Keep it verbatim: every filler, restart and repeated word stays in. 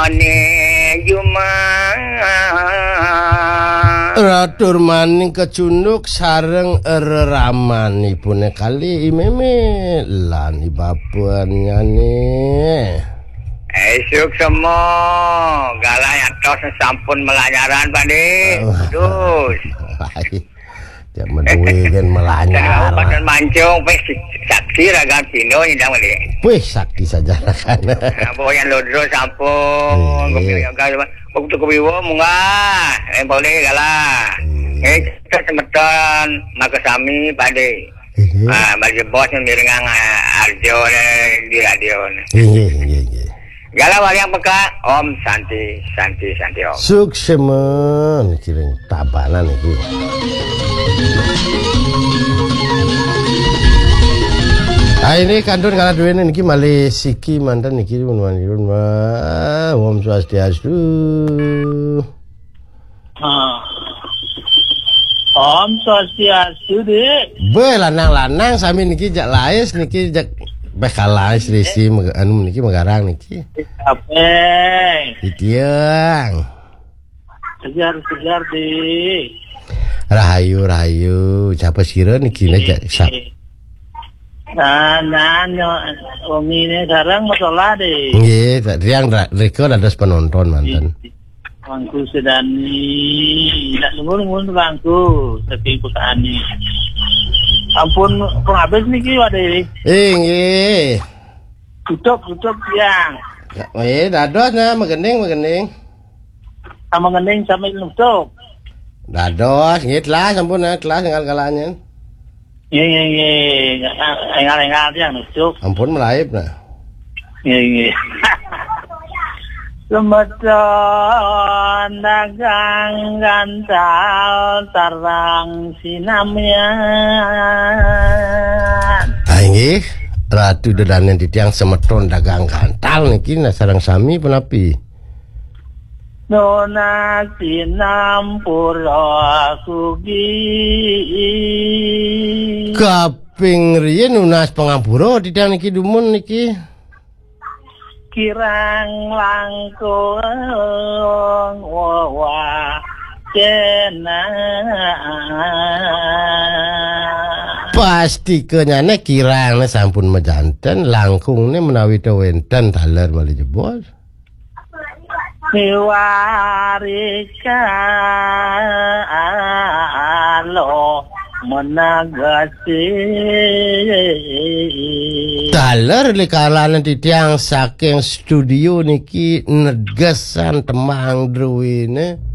Ane Juma. Ratur maning kecunduk sareng reramanipune kali I Meme lan I Bapennyane. Esuk semo, galah atos sampun melanyaran, Pade. Oh. Terus. Lain. Cak meduwe kan melanyar. Kabupaten Mancung, wis saksi ragan Cino nyidang, Pade. Wih, sakti saja ragan. Nah, Boyan Lodro sampun, Iya. Kopi Yoga, Kopi Wiwo munggah, eh, boleh galah. Iya. Eh, kita semeton, maka sami, Pade. Iya. Ah, bagi bos yang mirengang, ah, Arjo, eh, di radio, eh. Iya, iya, iya. Galah waliang peka, Om Santi, Santi, Santi, Om. Suksema, mikirin tabanan iki. Ah, ini kantun galah duwene niki malih siki manten niki, pun manirun, Wah. Om Swastiastu. Ah. Om Swastiastu, Dik. Be, lanang-lanang sami niki jak lais niki jak beh kalais risi meg-, anu niki megarang niki. Ape? Titiang. Segar, segar, Dik. Rahayu, rahayu. Siapa sira niki ne jak sa- Nah, nah, nyo, wengi ne sareng masalah, Dik. Nggih, tak tiang ra-, rika dados penonton manten. Bangku sedani, nak nunggu-nunggu bangku, saking pekani. Ampun, pun habis niki, Wade. Eh, nggih. Tutup, tutup tiang. Ya, eh, dados nah, megening, megening. Sama ngening sambil nutup. Dados, nggih, telas, ampun, nah, telas, enggal galanya. Nggih, nggih, nggih. Enggal-enggal tiang nutup. Ampun, melaib, nah. Nggih, nggih. Semeton dagang gantal tarang sinamian. Ah, inggih, Ratu Dedanen titiang semeton dagang gantal niki, nah, sareng sami punapi? Nunas pinampura sugi. Kaping riyin nunas pangampura titiang niki dumun niki. Kirang langkung wewah cena. Pasti kenyane kirang sampun majanten, langkungne menawi ta wenten taler malih jebos. Miwarika lo menegasi. Taler likalane titiang saking studio niki negesan tembang druwine.